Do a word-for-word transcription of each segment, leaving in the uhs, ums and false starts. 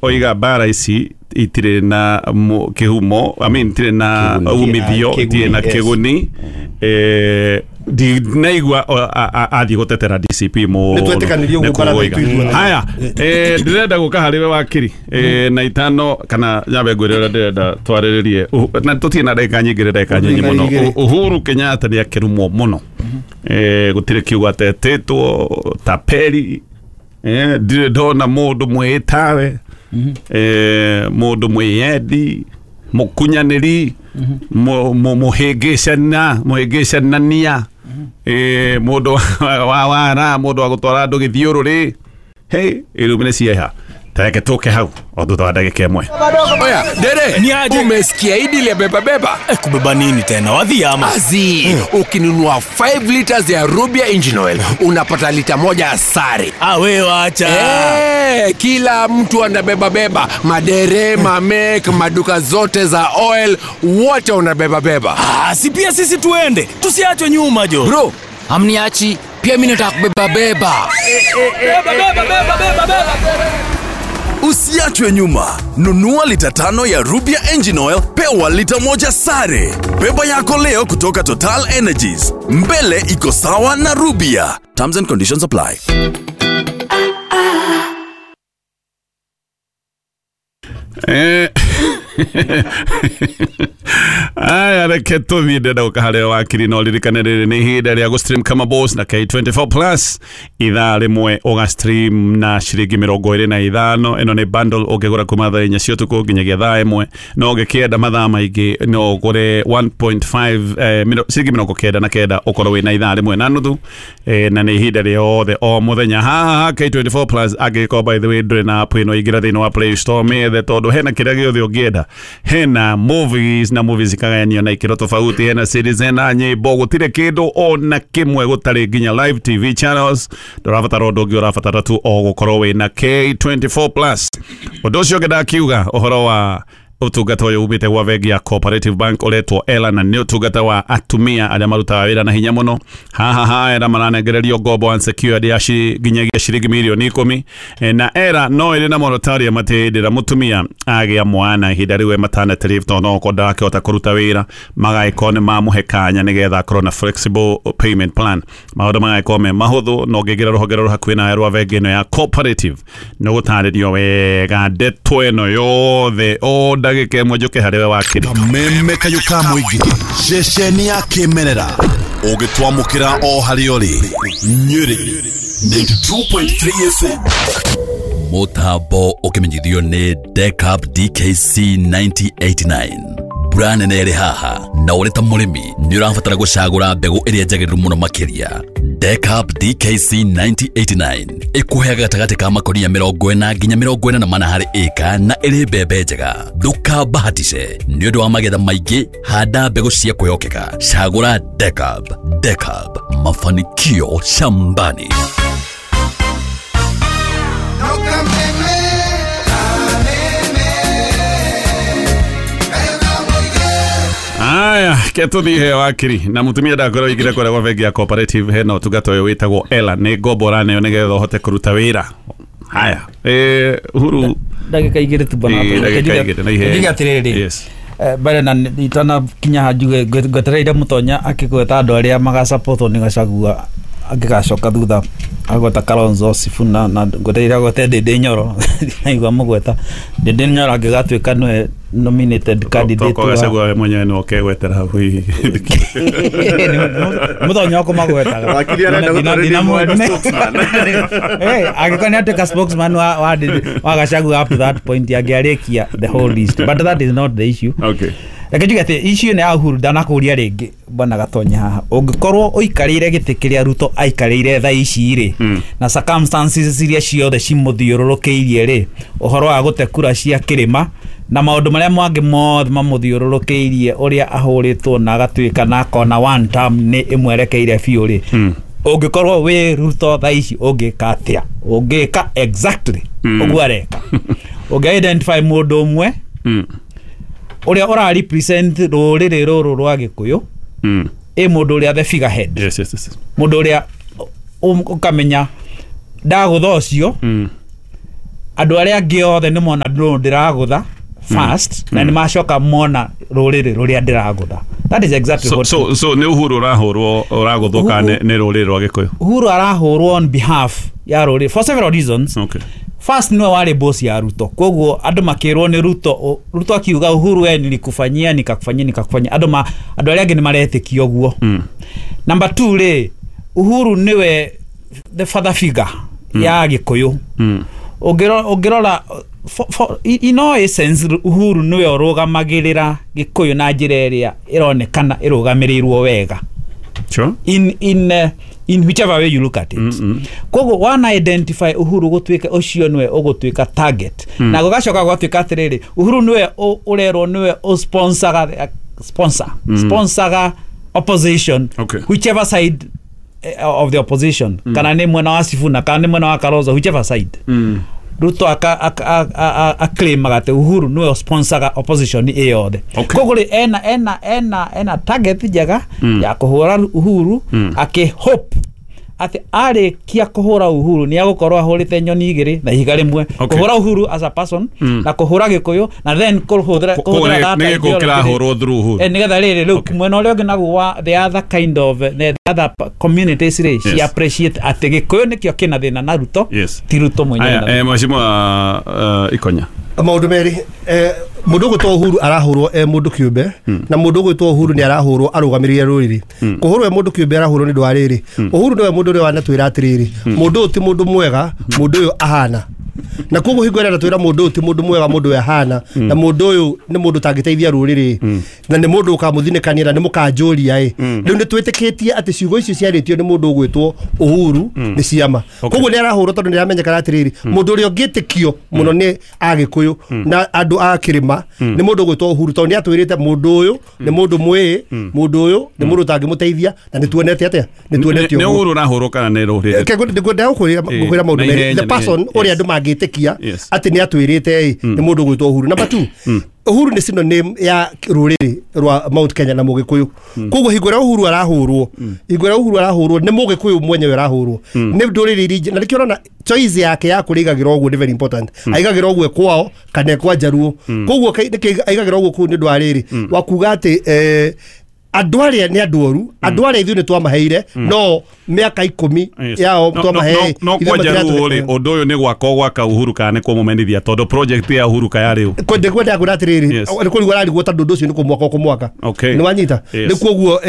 Oiga mbara ici itirĩ na kĩhumo, I mean itirĩ na umithio, itirĩ na kĩguni. Eh, ndinaigua athiĩ gũtetera D C P mũno. Nĩtwetĩkanĩrie ũguo mbara itũ ithuothe. Haya, eh, ndĩrenda gũka harĩ we wakiri eh, na itano kana nyambe ngwĩre ũrĩa ndĩrenda twarĩrĩrie, na tũtirĩ na ndagĩka nyingĩ, ndagĩka nyinyi mũno. Uhuru Kenyatta nĩ akĩrumwo mũno, eh, gũtirĩ kiugo atetĩtwo taperi. Eh, ndirĩ ndona mũndũ mwĩtawe, eh, mũndũ mwĩyendi, mũkunyanĩri, mũhĩngĩcana, mũhĩngĩcanania, eh, mũndũ wa wara, mũndũ wa gũtwara andũ gĩthiũrũrĩ. Hey, irumi nĩ cieha. Tareke tũke hau o thutha wa ndagĩka ĩmwe. Oya, dere, umesikia hii deal ya beba beba? Eh, kubeba nini tena? Wadhi ama? Azi, mm. Ukinunua five liters ya Rubia Engine Oil, unapata lita moja asari. Ah, we wacha. Eh, kila mtu anabeba beba. Madere, mamek, maduka zote za oil, wote wanabeba beba. Ah, si pia sisi tuende. Tusiachwe nyuma jo. Bro, amniachi, pia mimi nataka kubeba beba. Beba beba beba beba beba. Usiachwe nyuma. Nunua lita tano ya Rubia Engine Oil, pewa lita moja sare. Beba yako leo kutoka Total Energies. Mbele iko sawa na Rubia. Terms and conditions apply. Eh. Aya, reke tũthiĩ ndĩrenda gũka harĩ wakiri no ririkane rĩrĩ nĩ ihinda rĩa gũstream kama boss na K twenty-four plus ithaa rĩmwe ũgastream na ciringi mĩrongo ĩrĩ na ithano. Ĩno nĩ bundle ũngĩgũra kuma thaa inya cia ũtukũ nginyagia thaa ĩmwe, no ũngĩkĩenda mathaa maingĩ no ũgũre one point five eh, ciringi mĩrongo kenda na kenda ũkorwo wĩna ithaa rĩmwe na nuthu, eh, na nĩ ihinda rĩothe o mũthenya haha K twenty-four plus. Angĩkorwo by the way ndũrĩ na app ĩno, ingĩra thĩinĩ wa Play Store mĩethe, tondũ hena kĩrĩa gĩothe ũngĩenda. Hena movies na movies ikagayanio na ikĩro tofauti, hena series, hena nyĩmbo, gũtirĩ kĩndũ ona kĩmwe gũtarĩ nginya live T V channels. Ndũrabatara ũndũ ũngĩ, ũrabatara tu o gũkorwo wĩna K twenty-four plus. Ũndũ ũcio ũngĩ ndakiuga ũhoro wa ũtungata ũyũ umĩte gwa bengi ya Cooperative Bank ũretwo Ela, na nĩ ũtungata wa atumia arĩa marutaga wĩra na hinya mũno. Haha ha Ela maranengererio ngombo unsecured ya nginyagia ciringi mirioni ikũmi, na Ela no ĩrĩ na moratorium atĩ hĩndĩ ĩrĩa mũtumia agĩa mwana ihinda rĩu e maternity leave, tondũ no okorwo ndarakĩhota kũruta wĩra, magagĩkorwo nĩ mamũhe kanya nĩgetha akorwo na flexible payment plan. Maũndũ magagĩkorwo me mahũthũ, na ũngĩingĩra rũhonge rũrũ hakuhĩ nawe rwa bengi ĩno ya Cooperative nĩ ũgũtarĩrio wega ndeto ĩno yothe o ndagĩka ĩmwe njũke harĩ we wakiri. Kameme kayũ ka mũingĩ, ceceni ya kĩmerera, ũgĩtwamũkĩra o harĩa ũrĩ. Nyĩrĩ ninety-two point three F M. Mũtambo ũkĩmenyithio nĩ Decap D K C nineteen eighty-nine. Mbura nene ĩrĩ haha, na ũrĩ ta mũrĩmi nĩ ũrabatara gũcagũra mbegũ ĩrĩa njagĩrĩru mũno makĩria. Decap D K C nineteen eighty-nine ĩkũheaga gatagatĩ ka makonia mĩrongo ĩna nginya mĩrongo ĩna na mana harĩ ĩka, na ĩrĩ mbembe njega. Ndũkabahatishe nĩ ũndũ wa magetha maingĩ, handa mbegũ cia kwĩhokeka. Cagũra Decap. Decap, mafanikio shambani. Aya, ketũthiĩ he wakiri na mũtumia ndakorwo ingĩra kũrĩa gwa bengi ya Cooperative, hena ũtungata ũyũ wĩtagwo Ela, nĩ ngombo ũraneo nĩgetha ũhote kũruta wĩra. Haya, eh, Uhuru ndagĩka igĩrĩ tu bana, njuge atĩrĩrĩ, yes, mbere na itanakinya ha njuge ngwetereire Mũtonya akĩgweta andũ arĩa magacapotwo nĩ Gachagua angĩgacoka thutha agweta Kalonzo Sifuna, na ngwetereire agwete Ndindi Nyoro. Naigua mũgweta Ndindi Nyoro angĩgatuĩka nĩwe nominated candidate wa Gachagua mwenyewe no kegwetera hau hihi. Mũtonya ũkũmagwetaga wakiri arenda gũtwarĩria spokesman. Eh, angĩkorwo nĩ atuĩka spokesman wa wa wa Gachagua up to that point angĩarĩkia the whole list, but that is not the issue. Okay, reke njuge atĩ issue nĩ ya Uhuru ndanakũria rĩngĩ bwana Gatonya haha. Ũngĩkorwo ũikarĩire gĩtĩ kĩrĩa Ruto aikarĩire thaa ici rĩ, na circumstances iria ciothe cimũthiũrũrũkĩirie rĩ, ũhoro wa gũte kura cia kĩrĩma na maũndũ marĩa mangĩ mothe mamũthiũrũrũkĩirie, ũrĩa ahũrĩtwo na agatuĩka na akona one term nĩ ĩmwerekeire biũ rĩ, ũngĩkorwo wĩ Ruto thaa ici ũngĩka atĩa? Ũngĩka exactly ũguo areka. Ũngĩ identify mũndũ ũmwe ũrĩa ũra represent rũrĩrĩ rũrũ rwa Gĩkũyũ, ĩ mũndũ ũrĩa the figurehead. Yes, yes, yes. Mũndũ ũrĩa ũkamenya ndagũtha ũcio Andũ arĩa angĩ othe nĩ mona ndũ ndĩragũtha first na nĩ macoka mona rũrĩrĩ rũrĩa ndĩragũtha. That is exactly So what so so nĩ Uhuru ũrahũrwo ũragũthwo kana nĩ rũrĩrĩ rwa Gĩkũyũ? Uhuru arahũrwo on behalf ya rũrĩrĩ for several reasons. Okay. First, niwe warĩ boss ya Ruto, koguo andũ makĩrwo nĩ Ruto, Ruto akiuga Uhuru we nilikufanyia nikakufanyia nikakufanyia, andũ ma andũ arĩa angĩ nĩ maretĩkia ũguo. mm. Number two rĩ, Uhuru niwe the father figure mm. ya Gĩkũyũ. mm. Ũngĩrora ũngĩrora for, for, in all essence Uhuru niwe ũrũgamagĩrĩra Gĩkũyũ na njĩra ĩrĩa ĩronekana ĩrũgamĩrĩirwo wega. Sure. In in uh, in whichever way you look at it. Mm -hmm. Koguo wana identify Uhuru gũtuĩka ũcio nĩwe ũgũtuĩka target. Mm. Na gũgacoka gũgatuĩka atĩrĩrĩ, Uhuru nĩwe ũrerwo nĩwe ũsponsoraga sponsor mm. sponsoraga opposition. Okay. Whichever side of the opposition. Mm. Kana nĩ mwena wa Sifuna, kana nĩ mwena wa Kalonzo, whichever side. Mm. Ruto aka aka aclaimaga atĩ Uhuru nĩwe sponsoraga opposition ĩ yothe. Koguo rĩ ena ena ena ena target njega mm. ya kũhũra Uhuru mm. akĩ hope atĩ arĩkia kũhũra Uhuru nĩ agũkorwo ahũrĩte nyoni igĩrĩ na ihiga rĩmwe. Okay. Kũhũra Uhuru as a person mm. na kũhũra Gĩkũyũ na then kũhũthĩra kũhũra nĩ gĩkũyũ kĩrahũrwo through Uhuru. Eh, nĩgetha rĩrĩ rĩu mwena ũrĩa ũngĩ naguo wa the other kind of the other communities rĩ she appreciate atĩ Gĩkũyũ nĩkĩo kĩna thĩna na Ruto. Yes. Ti Ruto mwenyewe. Aya, mheshimiwa Ikonya, maũndũ merĩ, mũndũ ũgwĩtwo Uhuru arahũrwo e mũndũ kĩũmbe na mũndũ ũgwĩtwo Uhuru nĩ arahũrwo arũgamĩrĩire rũrĩrĩ. Kũhũrwo e mũndũ kĩũmbe arahũrwo nĩ ũndũ wa rĩrĩ, Uhuru nĩwe mũndũ ũrĩa wanatwĩra atĩrĩrĩ, mũndũ ũyũ ti mũndũ mwega, mũndũ ũyũ ahana. Na koguo hingo ĩrĩa anatwĩra mũndũ ũyũ ti mũndũ mwega, mũndũ ũyũ ahana, na mũndũ ũyũ nĩ mũndũ ũtangĩteithia rũrĩrĩ, na nĩ mũndũ ũkamũthinĩkania na nĩ mũkanjũria ĩ, rĩu nĩ twĩtĩkĩtie atĩ ciugo icio ciarĩtio nĩ mũndũ ũgwĩtwo Uhuru nĩ ciama. Koguo nĩ arahũrwo tondũ nĩ aramenyekana atĩrĩrĩ, mũndũ ũrĩa ũngĩtĩkio mũno nĩ Agĩkũyũ na andũ a kĩrĩma nĩ mũndũ ũgwĩtwo Uhuru, tondũ nĩ atwĩrĩte mũndũ ũyũ nĩ mũndũ mwĩĩ, mũndũ ũyũ nĩ mũndũ ũtangĩmũteithia, na nĩ tuonete atĩa, nĩ tuonete ũguo. Nĩ Uhuru ũrahũrwo kana nĩ rũrĩrĩ? Ngwenda gũkwĩra maũndũ merĩ, the person ũrĩa andũ mangĩtĩkia atĩ nĩ atwĩrĩte ĩ nĩ mũndũ ũgwĩtwo Uhuru. Number two, Uhuru nĩ synonym ya rũrĩrĩ rwa Mount Kenya na Mũgĩkũyũ. Koguo hingo ĩrĩa Uhuru arahũrwo, hingo ĩrĩa Uhuru arahũrwo nĩ Mũgĩkũyũ mwenyewe arahũrwo, nĩ ndũrĩrĩ iria, na nĩkĩo ũrona choice yake ya kũrĩa aigagĩra ũguo nĩ very important. Aigagĩra ũguo kwao kana kwa Njaruo. Koguo nĩkĩo aigagĩra ũguo kũu nĩ ũndũ wa rĩrĩ wa kuga atĩ andũ arĩa nĩ andũ oru, andũ arĩa ithuĩ nĩ twamaheire no mĩaka ikũmi yao twamaheire. No kwa Njaruo rĩ, ũndũ ũyũ nĩ gwaka gwaka Uhuru kana nĩ kũmũmenithia, tondũ project ya Uhuru kaya rĩu kwenda kwenda atĩrĩrĩ, nĩ kũrigwo ararigwo tondũ ũndũ ũcio nĩ kũmwaka ũkũmwaka. Nĩ wanyita? Nĩ kuoguo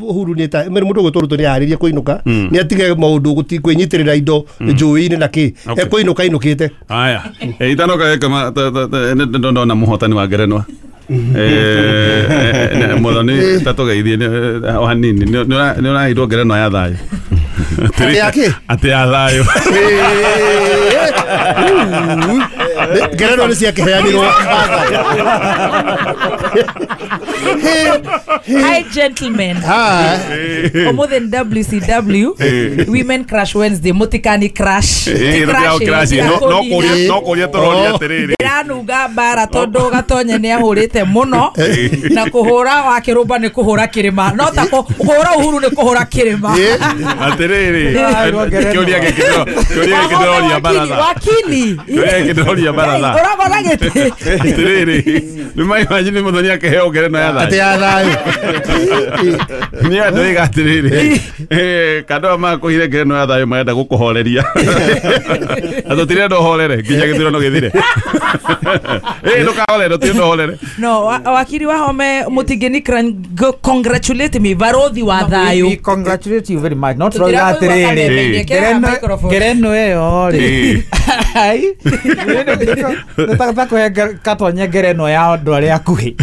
Uhuru nĩ ta mũndũ ũgwĩtwo Ruto nĩ arĩrie kũinũka, nĩ atige maũndũ kwĩnyitĩrĩra indo njũĩ-inĩ na kĩ, ekũinũka ainũkĩte. Aya, itanoka gĩka ndona mũhotani wa ngerenwa eh Muthoni tatugeithie o hanini, nĩ ũraheirwo ngerenwa ya thayũ. Atĩ ya thayũ. Ngerenwa nĩ ciakĩheanirwo. Hi gentlemen. Hi. Ũmũthĩ nĩ W C W, Women Crash Wednesday, mũtikani crash. No kũria tũroria atĩrĩrĩ, ndĩranunga mbara tondũ Gatonye nĩ ahũrĩte mũno, na kũhũra wa kĩrũmba nĩ kũhũra kĩrĩma, no ta kũhũra Uhuru nĩ kũhũra kĩrĩma. Atĩrĩrĩ, kĩũria gĩkĩ kĩũria gĩkĩ ndĩroria baratha. Wakili. Kĩũria gĩkĩ ndĩroria baratha. Ũragora gĩtĩ. Atĩrĩrĩ, nĩ maimagine Muthoni akĩheo ngerenwa ya thayũ. Atĩ ya thayũ. Nĩ andũ oiga atĩrĩrĩ, kandũ makũhire ngerenwa ya thayũ marenda gũkũhoreria. Na tũtirenda ũhorere nginya gĩthurano gĩthire. Eh, ndũkahorere, tũtirenda ũhorere. No, wakiri wa Home Mutigeni congratulate me barothi wa thayũ. We congratulate you very much. Not roga atĩrĩrĩ, ngerenwa ĩyo rĩ, ai nĩ ta kũhe Gatonye ngerenwa ya andũ arĩa akuhĩ.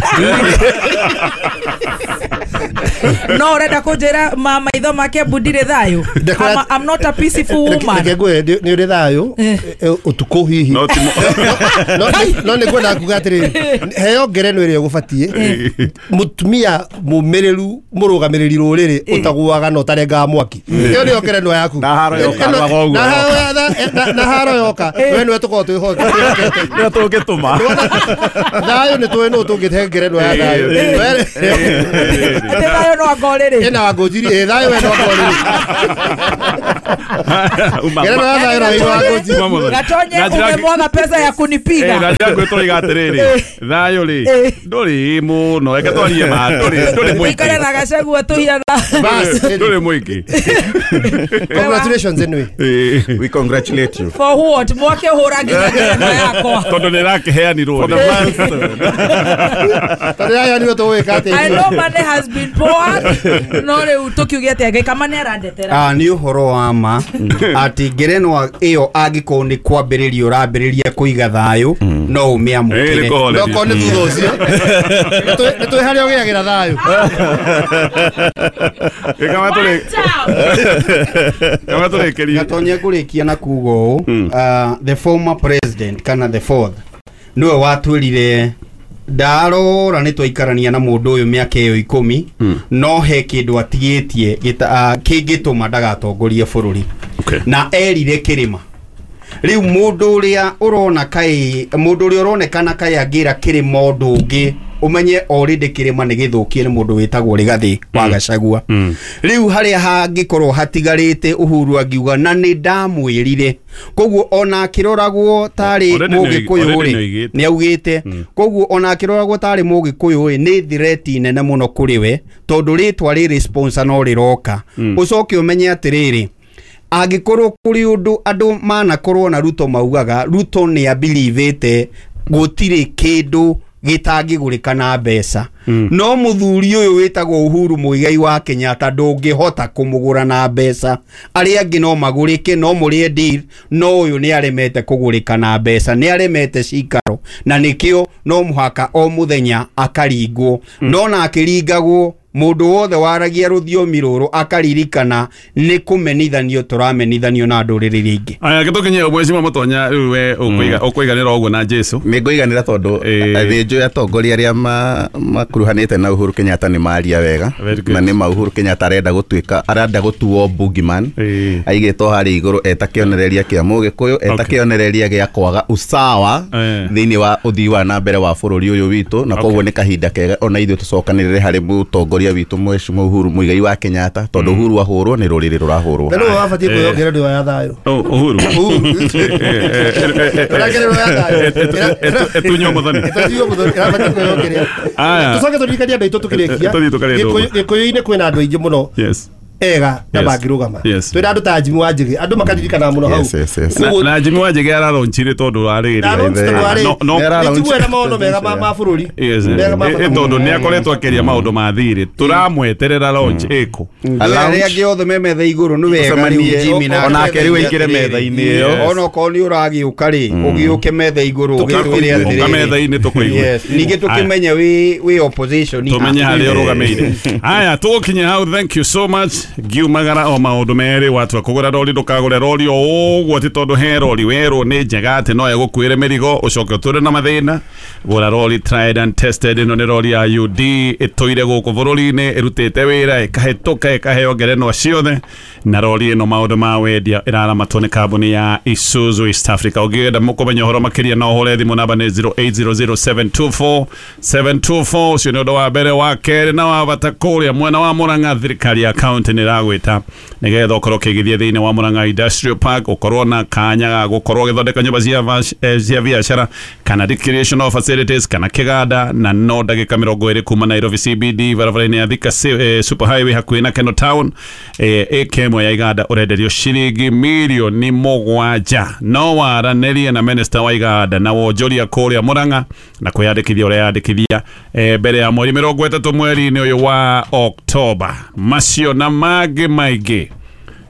No urenda kunjira ma maitho make mbundire thayo. I'm not a peaceful woman. Reke ngwire ni uri thayo utuku hihi. No no nĩ ngwenda kuga atiriri heo ngereno ĩrĩa ũgũbatiĩ mutumia mumĩrĩru mũrũgamĩrĩri rũrĩrĩ ũtaguaga na ũtarengaga mwaki. Ĩyo nĩyo ngereno yaku. Na haro yoka rwaga ũguo. Na haro yoka we nĩwe tũkoragwo twĩhokete. Nä tå ngä tå ma Thayũ nĩ tũĩ nũ tũngĩhe ngerenwa ya thayũ. Atĩ thayũ no angorĩrĩ. Ĩna Wangũnjiri, ĩ thayũ we no angorĩrĩ. Ngerenwa ya thayũ na wĩra Wangũnjiri. Gatonye umemwaga pesa ya kunipiga. Na njĩra ngwĩtũraiga atĩrĩrĩ thayũ rĩ ndũrĩ mũno reke twarie ma ndũrĩ ndũrĩ mũingĩ Ikare na Gachagua tũhiana. Bas, ndũrĩ mũingĩ. Congratulations anyway. We congratulate you. For what? Mwake ũhũra nginya ngerenwa yakwa. Tondũ nĩ ĩrakĩheanirwo rĩ. Tondũ yaheanirwo tũgwĩka atĩa? I know money has been poured. No rĩu tũkiuge atĩa Ngai kama nĩ arandetera. Ah, nĩ ũhoro wa ma atĩ ngerenwa ĩyo angĩkorwo nĩ kwambĩrĩria ũrambĩrĩria kũiga thayũ no ũmĩamũkĩre. Ĩĩ, nĩ kũhoreria. Okorwo nĩ thutha ũcio nĩ tũĩ harĩa ũgĩagĩra thayũ. Kama tũrĩ kama tũrĩkĩrie. Gatonye ngũrĩkia na kuga ũũ, ah, the former president kana the fourth nĩwe watwĩrire ndarora nĩ twaikarania na mũndũ ũyũ mĩaka ĩyo ikũmi no he kĩndũ atigĩtie gĩta- ah, kĩngĩtũma ndagatongorie bũrũri Okay. na erire kĩrĩma rĩu mũndũ ũrĩa ũrona kaĩ mũndũ ũrĩa ũronekana kaĩ angĩra kĩrĩma ũndũ ũngĩ ũmenye already kĩrĩma nĩ gĩthũkie nĩ mũndũ wĩtagwo Rigathĩ wa Gachagua rĩu harĩa hangĩkorwo hatigarĩte Uhuru angiuga na nĩ ndamwĩrire koguo ona akĩroragwo tarĩ Already nĩ- mũgĩkũyũ already rĩ nĩ oigĩte. nĩ augĩte koguo ona akĩroragwo tarĩ mũgĩkũyũ rĩ nĩ threat nene mũno kũrĩ we tondũ rĩtwa rĩrĩ sponsor no rĩroka ũcoke ũmenye atĩrĩrĩ angĩkorwo kũrĩ ũndũ andũ manakorwo na Ruto maugaga Ruto nĩ abilivĩte gũtirĩ kĩndũ gĩtangĩgũrĩka na mbeca no mũthuri ũyũ wĩtagwo Uhuru Muigai wa Kenyatta ndũngĩhota kũmũgũra na mbeca arĩa angĩ no magũrĩke no mũrĩe deal no ũyũ nĩ aremete kũgũrĩka na mbeca nĩ aremete cikaro na nĩkĩo no mũhaka o mũthenya akaringwo no na akĩringagwo mũndũ wothe waragia rũthiomi rũrũ akaririkana nĩ kũmenithanio tũramenithanio na ndũrĩrĩ iria ingĩ. Aya gĩtũkinye mweci Mũtonya rĩu we ũkũiga ũkũiganĩra ũguo na Jesu. Nĩ ngũiganĩra tondũ Ĩĩ. thĩnjũ atongoria arĩa ma- makuruhanĩte na Uhuru Kenyatta nĩ maria wega Very good. na nĩ ma Uhuru Kenyatta arenda gũtuĩka arenda gũtuo boogeyman Ĩĩ. aigĩtwo harĩa igũrũ eta kĩonereria kĩa mũgĩkũyũ eta Okay. kĩonereria gĩa kwaga usawa Eh. thĩinĩ wa ũthii wa na mbere wa bũrũri ũyũ witũ na koguo nĩ kahinda kega ona ithuĩ tũcokanĩrĩre harĩ mũtongoria witũ mheshimiwa Uhuru Muigai wa Kenyatta tondũ Uhuru ahũrwo nĩ rũrĩrĩ rũrahũrwo. Na nĩwe wabatiĩ kwĩheo ngerenwa ya thayũ. Oh, Uhuru. Ngerenwa ya thayũ. Etunywo mũthoni. Ĩtunywo mũthoni, ĩrabatiĩ kwĩheo kĩrĩa. Aya. Tũcoke tũririkanie andũ aitũ tũkĩrĩkia. Tũthiĩ tũkarĩe ndũma. Gĩkũyũ- Gĩkũyũ-inĩ kwĩna andũ aingĩ mũno Yes. ega na Yes. mangĩrũgama. Yes. Twĩna andũ ta Jimmy Wanjigi, andũ makaririkana mũno hau. Yes, yes, yes. Na, na Jimmy Wanjigi araronchire tondũ arĩrĩ. Araronchire tondũ arĩ- No, no, Nĩ njiguaga maono mega ma ma bũrũri. Yes. Mega ma Ĩ- bata ĩ tondũ mũno. nĩ akoretwo akĩaria maũndũ ma thirĩ tũramweterera launch ĩkũ. Arĩa angĩ othe me metha igũrũ nĩ wega rĩu Tũcemanie, Jimmy na onake rĩu aingĩre metha-inĩ ĩyo. ona okorwo nĩ ũragĩũka rĩ ũgĩũke metha igũrũ ũgĩtwĩre Ũka atĩrĩrĩ metha-inĩ tũkũigue. Yes, ningĩ tũkĩmenye wĩ wĩ opposition Tũmenye harĩa ũrũgamĩire. Aya tũgũkinya hau thank you so much ngiumagara o maũndũ merĩ watua kũgũra rori ndũkagũre rori o ũguo atĩ tondũ he rori werwo nĩ njega atĩ no ĩgũkuĩre mĩrigo ũcoke ũtũre na mathĩna gũra rori tried and tested ĩno nĩ rori ya U D ĩtũire gũkũ bũrũri-inĩ ĩrutĩte wĩra ĩkahĩtũka ĩkaheo ngerenwa ciothe na rori ĩno maũndũ ma wendia ĩraramatwo nĩ kambuni ya Isuzu East Africa ũngĩenda kũmenya ũhoro makĩria no ũhũre thimũ namba nĩ zero eight zero zero seven two four seven two four ũcio nĩ ũndũ wa mbere wa kerĩ na wa bata kũrĩa mwena wa Murang'a thirikari ya county nĩ ĩragwĩta nĩgetha ũkorwo ũkĩigithia thĩinĩ wa Murang'a Industrial Park ũkorwo na kanya ga gũkorwo ũgĩthondeka nyũmba cia vac- eh, cia biacara kana recreational facilities kana kĩganda na no ndagĩka mĩrongo ĩrĩ kuma Nairobi C B D barabara-inĩ ya Thika eh, Super Highway hakuhĩ na Keno Town eh, ĩka ĩmwe ya iganda ũrenderio ciringi mirioni mũgwanja no waranĩrie na minister wa iganda na wonjoria kũrĩa Murang'a na kwĩyandĩkithia ũreyandĩkithia eh, mbere ya mweri mĩrongo ĩtatũ mweri-inĩ ũyũ wa Oktoba macio na mangĩ maingĩ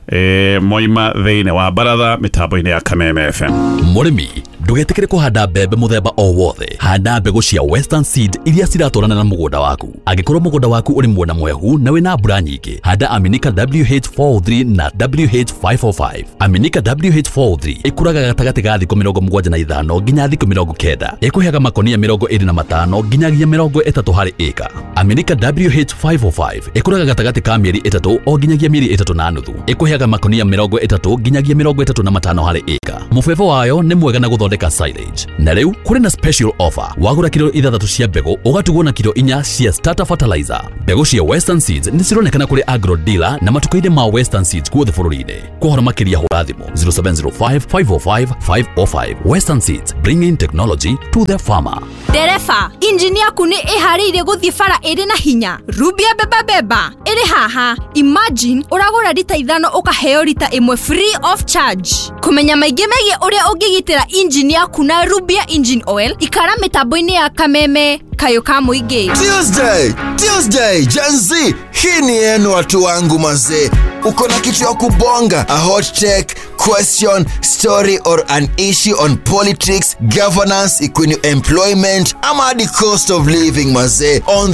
eh, moima thĩinĩ wa baratha mĩtambo-inĩ ya Kameme F M. Mũrĩmi ndũgetĩkĩre kũhanda mbembe mũthemba o wothe handa mbegũ cia Western Seed iria ciratwarana na mũgũnda waku angĩkorwo mũgũnda waku ũrĩ mwena mwehu na wĩna mbura nyingĩ handa Aminika W H four three na W H five four five Aminika W H four three ĩkũraga gatagatĩ ga thikũ mĩrongo mũgwanja na ithano nginya thikũ mĩrongo kenda ĩkũheaga makonia mĩrongo ĩrĩ na matano nginyagia mĩrongo ĩtatũ harĩ ĩka Aminika W H five four five ĩkũraga gatagatĩ ka mĩeri ĩtatũ o nginyagia mĩeri ĩtatũ na nuthu ĩkũheaga makonia mĩrongo ĩtatũ nginyagia mĩrongo ĩtatũ na matano harĩ ĩka mũbebo wayo nĩ mwega na gũthondeka gũthondeka silage. Na rĩu kũrĩ na special offer, wagũra kilo ithathatũ cia mbegũ ũgatugwo na kilo inya cia starter fertilizer. Mbegũ cia Western Seeds nĩ cironekana kũrĩ agro dealer na matuka-inĩ ma Western Seeds guothe bũrũri-inĩ. Kwa ũhoro makĩria hũra thimũ zero seven zero five, five oh five, five oh five. Western Seeds, bringing technology to the farmer. Ndereba, injini yaku nĩ ĩharĩirie gũthiĩ bara ĩrĩ na hinya. Rubia beba beba ĩrĩ haha. Imagine ũragũra rita ithano ũkaheo rita ĩmwe free of charge. Kũmenya maingĩ megiĩ ũrĩa ũngĩgitĩra injini yaku na Rubia engine oil, ikara mĩtambo-inĩ ya Kameme Kayo ka Mũingĩ. Tuesday, Tuesday, Gen Z, hii ni yenu watu wangu mazee. Uko na kitu ya kubonga, a hot take, question, story or an issue on politics, governance, equity, employment, ama the cost of living mazee. On